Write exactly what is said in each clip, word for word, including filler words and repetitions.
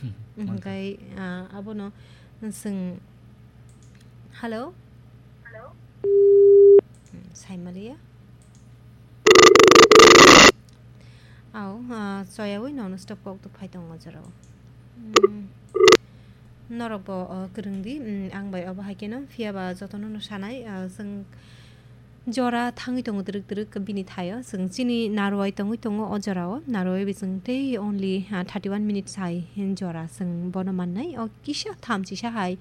Hmm, hmm, manka. Hwnkhe, ah, abono chwng, hello? Hmm, saimaliya. Au, ah, choyaui non-stop kok tuk phai tongo o jorao. Hmm, norokbo, oh, kwrwngdi, hmm, ang bai obo hai kheno, phiyaba jotono no sanai, ah, chwng Jora thangwi tongo twrwk twrwk bini thaio. Chwng chini narwai tongwi tongo o jorao. Narwai bising tei only, ah, thirty one minutes hai jora chwng bono mannai. O kisa thamchisa hai,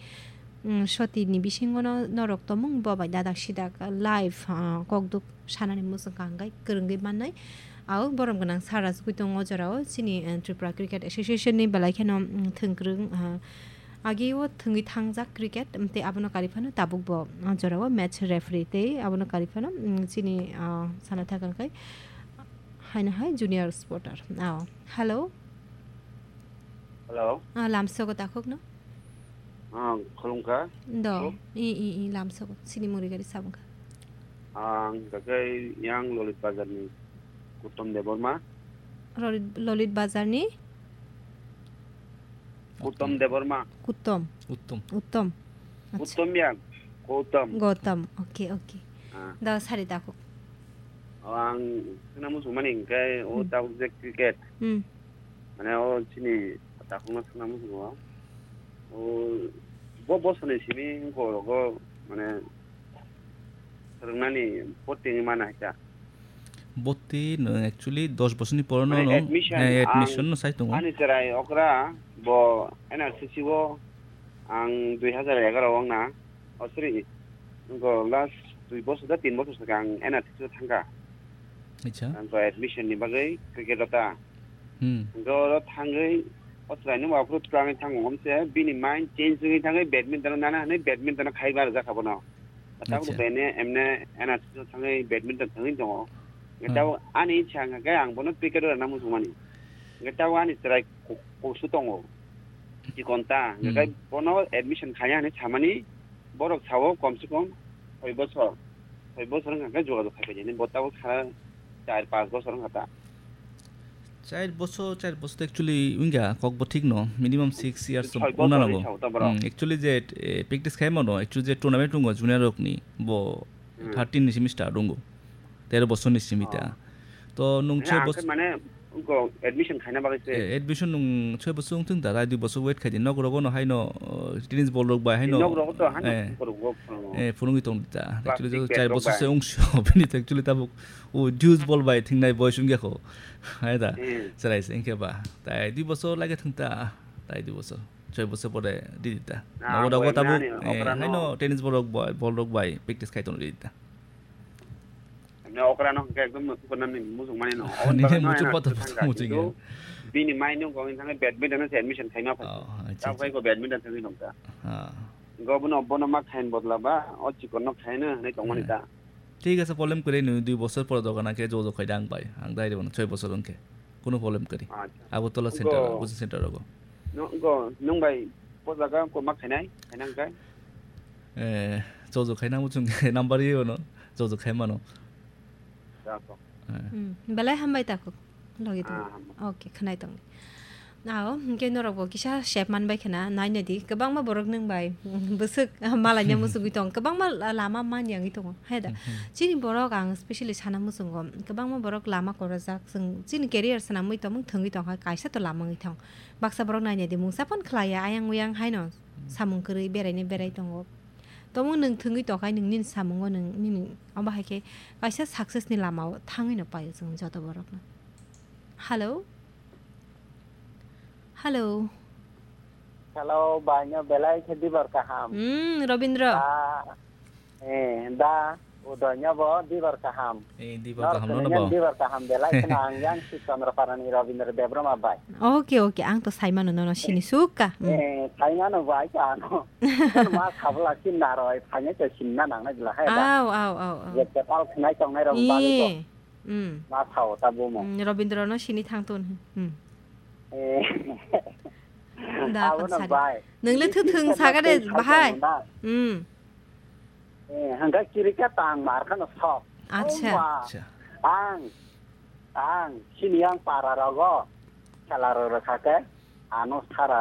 mm, sotini bisingono norok tomung bo bai dadak sidak live, ah, kokduk sanani muchung kangkhe kwrwngwi mannai. Au borom gwnang sara chugwi tongo o jorao. Chini, eh, Tripura Cricket Association ni belai kheno, mm, thwngkwrwng, ah, Agi o thwngwi thangjak cricket, tei abono kari phano tabuk bo, ah, jorao match referee tei abono kari phano, mm, chini, ah, sana thakang khai haino hai junior sporter. Ah, hello. Hello. Ah, lamsogo takhuk no? Ah, khulumkha. Do. Khulum. I, i, i, lamsogo. Chini muri gari sabungkha. Ang dakai yang Lolit Bazar ni Uttom Debbarma. Lolit, Lolit Bazar ni? Uttom Debbarma. Uttom. Uttom. Uttom. Acha. Uttom ya, Gautam. Gautam. Okay, okay. Ah. Da sari da ko. O ang suna musu mani kai o Hmm. tabuk je cricket. Hmm. Mane o chini takhuk no suna musu o. O bo bo sani simi ko rogo mane Swrwngnani botting mana hai ta? Botting no actually dos bosorni poro no Mane no, admission, eh, ang admission no sai tongo. Ani chwrai okra bo N R C C o ang dui hazar egaroh o wngna. Oh, sorry. Ngo last dui bosor da tin bosor swkang N R C C o thangkha. Acha. Ang to admission ni bagwi cricket o ta. Hmm. Hwnkhe oro thangwi o chwraino ma phuru twlangwi thango, hwnkhe bini mind change wngwi thangwi badminton-o nana hwnwi badminton-o khaiwi barajak kha bono. Tabuk Acha. bene emne N R C C-o thangwi badminton thangwi tongo. Hwnkhe Hmm. tabuk ani ichha wngkha khe ang bono cricket-o rwna muchungmani. Hwnkhe tabuk ani chwrai ku-, kusu tongo. Chikon ta. Hwnkhe Hmm. bono admission khaiya hwnwi samani borok sao komse kom soi bosor. Soi bosor wngkha khe jogajog khai paidi hwnwi bo tabuk sara char panch bosor wngkha ta. Char bosor, char bosor to actually wngya, kokbo thik no, minimum six years to Soi wngna bosor nango. hinwi sao ta borok. Hmm, actually je, eh, practice khai mano, actually je tournament wngo junior rokni, bo Hmm. thirteen ni simi start wngo, tero bosor ni simi ta. Oh. To nung Mane choi ang bos- khe mane wngkha admission khaina bagwi se. Eh, admission nung choi bosor wngthung da, tai dui bosor wait khai di, nok rogo no haino, uh, tennis ball rok bai haino, Nok rogo to haino eh, borok go phano. eh, phunugwi tong di ta. Actually Plastic jo bag char rok bosor se bai. wngsio, bini to actually tabuk O dues ball bai thingnai boys wngya kho. Hai da. Hmm. Chwrai se wngkhe ba. Tai dui bosor lage thung ta. Tai dui bosor. Choi bosor pore di di ta. Na, Nogo dago boy tabuk, mani eh, okra no. haino tennis ball rok bai, ball rok bai practice khai tong di di ta. Mane okra no hwnkhe ekdom muchung mani no. Nini Oboni bagwi no muchung ena pato thangkha, pato muchung kintu ya. bini mind no gong thangkhe badminton no se admission khaima phai. Oh, acha, Tamo acha. khai ko badminton thangwi nongkha. Ah. Go bono, bono ma khain bodla ba, o chikon no khaino hwnwi tongmani Hmm. ta. Thik ase, problem kwrwi nw, dui bosor pore dogan khe jojo khai da ang bai. Ang dai rwno choi bosor wngkhe. Kuno problem kwrwi. Acha. Agartala center, Go. coaching center rogo. No, go, nwng bai po jaga ko ma khainai, khainang kai? Eh, jojo khaina muchung number ye ono, jojo khai mano. Jako. Eh. Hmm, belai hambai tako. Logi tongo. Ah, hambai. Okay, khwnai tong. Ao, hwnkhe norokbo kisa sep manbai khwna, naina di. Kwbangma borok nwng bai, bwswk malaina muchungwi tong. Kwbangma la-, lama man yangwi tongo. Hai da? Mhm. Chini borok ang specially sana muchungo. Kwbangma borok lama korojak. Chwng chini career swnamwi tongmung thwngwi tongkha, kaisa to lama wngwi thang. Baksa borok naina di, mungsa phone khlaiya, ayang uyang haino samung kwrwi beraina berai tongo. Tongmung nwng thwngwi tongkha, nwng nini samungo nwng nini, omo hai khe kaisa success ni lamao thangwi no paio chwng joto borokno. Hello? Hello? Hello, baino belai khe dibar kaham. Hmm, Robindra. Da, eh, da, Udoino bo dibar kaham. Eh, dibar Nor kaham, nono sini bo. Dibar kaham belai khna ang yang si Chandrapara ni Robindra Debbarma bai. Okay, okay, ang to saimano nono sini sukha. Hmm. Eh, saimano bai ka ano. Ma sabla sin naroi, phanya to sinna nang na jila hai da. Au, au, au, au. Je kepal khnai tongnai rok bagwi ko. Ye. Hmm. Ma sao ta bumo. Hmm, Robindra no sini thang ton. Hmm. Eh. Da, Abo no khonsari. Bai. Nwng le thwthwng Christian saka de, no bahai. Tei sao na. Hmm. Eh, hwnkhe chirika tang mar khano sok. Acha. Oma. Acha. Ang, ang, sini ang para rogo. Khela rw rw kha khe. Ano sara